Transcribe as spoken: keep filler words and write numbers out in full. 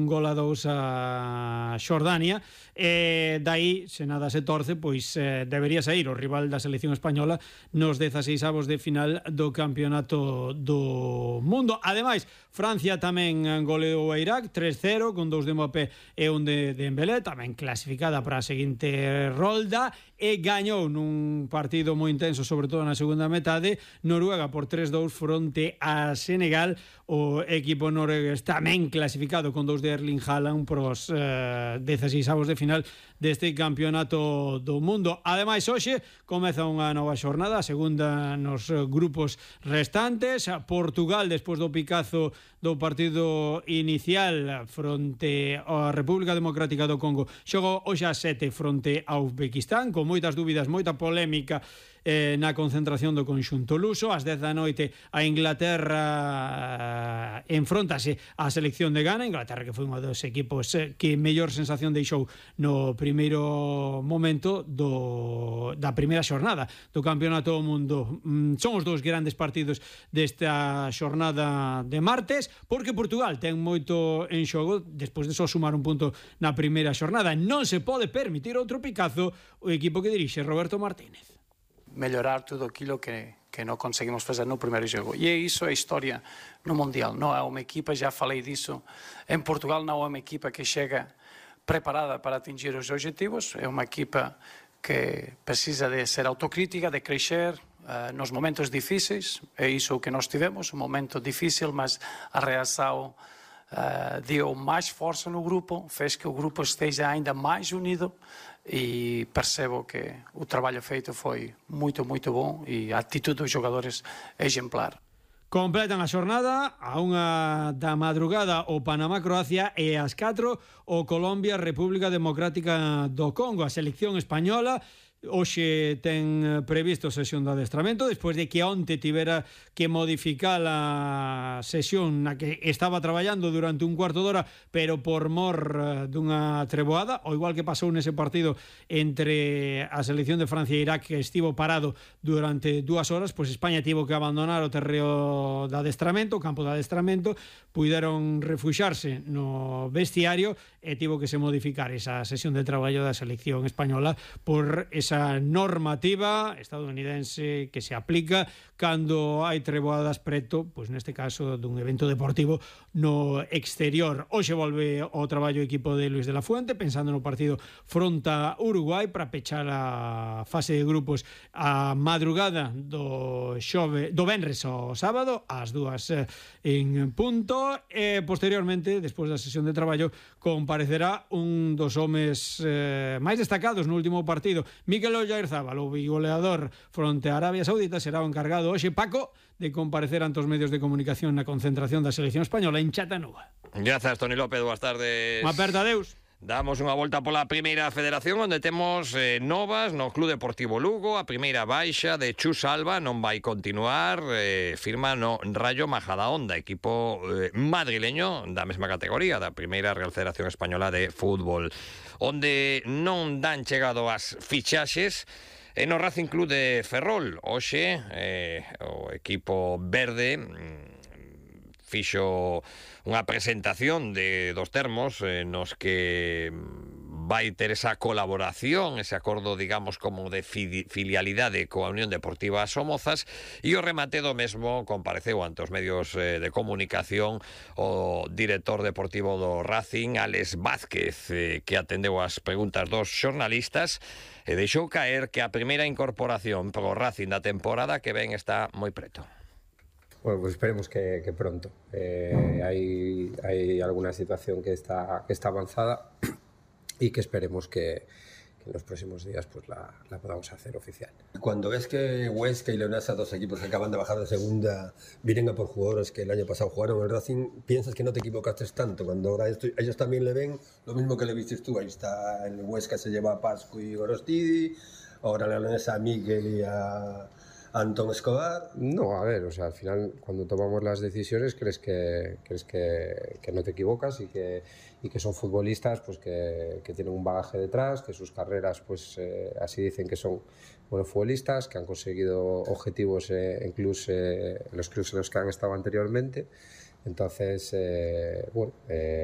un gol a dous a Xordania, e dai, se nada se torce, pois eh, debería sair o rival da selección española nos dezaseis avos de final do campeonato do mundo. Ademais, Francia tamén goleou a Irak tres cero, con dous de Mbappé e un de Dembélé, tamén clasificada para a seguinte rolda, e gañou nun partido moi intenso, sobre todo na segunda metade, Noruega por tres dous fronte a Senegal. O equipo noruegués tamén clasificado con dous de Erling Haaland pros eh, dezaseis avos de final deste campeonato do mundo. Ademais, hoxe comeza unha nova xornada, a segunda nos grupos restantes. Portugal, despois do picazo do partido inicial fronte á República Democrática do Congo, xogou hoxe a sete fronte a Uzbekistán, con moitas dúbidas, moita polémica eh, na concentración do conxunto luso. Ás dez da noite a Inglaterra eh, enfróntase á selección de Ghana. Inglaterra, que foi un dos equipos eh, que mellor sensación deixou no primeiro momento do, da primeira xornada do campeonato do mundo. Mm, son os dous grandes partidos desta xornada de martes, porque Portugal ten moito en xogo despois de só sumar un punto na primeira xornada. Non se pode permitir outro picazo o equipo que dirixe Roberto Martínez. Mellorar tudo aquilo que, que non conseguimos fazer no primeiro jogo. E iso é a historia no Mundial. Non é uma equipa, já falei disso, em Portugal não é uma equipa que chega preparada para atingir os objetivos, é uma equipa que precisa de ser autocrítica, de crescer uh, nos momentos difíceis. É iso o que nós tivemos, um momento difícil, mas a reação uh, deu mais força no grupo, fez que o grupo esteja ainda mais unido, e percebo que o trabalho feito foi muito, muito bom e a atitude dos jogadores é exemplar. Completan a xornada a unha da madrugada o Panamá-Croacia e ás catro o Colombia-República Democrática do Congo. A selección española hoxe ten previsto sesión de adestramento despois de que onte tivera que modificar a sesión na que estaba traballando durante un cuarto de hora, pero por mor dunha treboada, o igual que pasou nese partido entre a selección de Francia e Irak, que estivo parado durante dúas horas, pois España tivo que abandonar o terreo de adestramento, o campo de adestramento, puideron refuxarse no vestiario e tivo que se modificar esa sesión de traballo da selección española por esa esa normativa estadounidense que se aplica cando hai treboadas preto, pois neste caso dun evento deportivo no exterior. Hoxe volve o traballo equipo de Luis de la Fuente pensando no partido fronta Uruguai para pechar a fase de grupos a madrugada do xove, do venres ao sábado ás dúas en punto, e posteriormente, despois da sesión de traballo, comparecerá un dos homes eh, máis destacados no último partido, Mikel Oyarzabal, o bigoleador fronte a Arabia Saudita, será o encargado hoxe, Paco, de comparecer ante os medios de comunicación na concentración da selección española en Chattanooga. Grazas, Toni López, boas tardes. Unha aperta, adeus. Damos unha volta pola primeira federación, onde temos eh, novas no Club Deportivo Lugo. A primeira baixa de Chus Alba non vai continuar, eh, firma no Rayo Majadahonda, equipo eh, madrileño da mesma categoría da primeira Real Federación Española de Fútbol, onde non dan chegado as fichaxes. E no Racing Club de Ferrol, hoxe, eh, o equipo verde fixo unha presentación de dos termos eh, nos que vai ter esa colaboración, ese acordo, digamos, como de filialidade coa Unión Deportiva Somozas, e o remate do mesmo compareceu ante os medios eh, de comunicación o director deportivo do Racing, Alex Vázquez, eh, que atendeu as preguntas dos xornalistas e deixou caer que a primeira incorporación pro Racing da temporada que ven está moi preto. Bueno, pues esperemos que, que pronto. Eh, hay, hay alguna situación que está, que está avanzada y que esperemos que, que en los próximos días pues la, la podamos hacer oficial. Cuando ves que Huesca y Leonesa, dos equipos que acaban de bajar de segunda, vienen a por jugadores que el año pasado jugaron en el Racing, piensas que no te equivocaste tanto. Cuando ahora esto, ellos también le ven lo mismo que le viste tú. Ahí está, en Huesca se lleva a Pascu y Gorostidi, ahora la Leonesa a Miguel y a Antón Escobar. No, a ver, o sea, al final cuando tomamos las decisiones crees que crees que, que no te equivocas y que, y que son futbolistas pues que, que tienen un bagaje detrás, que sus carreras pues eh, así dicen que son buenos futbolistas, que han conseguido objetivos eh, en, clubs, eh, en los clubes en los que han estado anteriormente. Entonces, eh, bueno... Eh,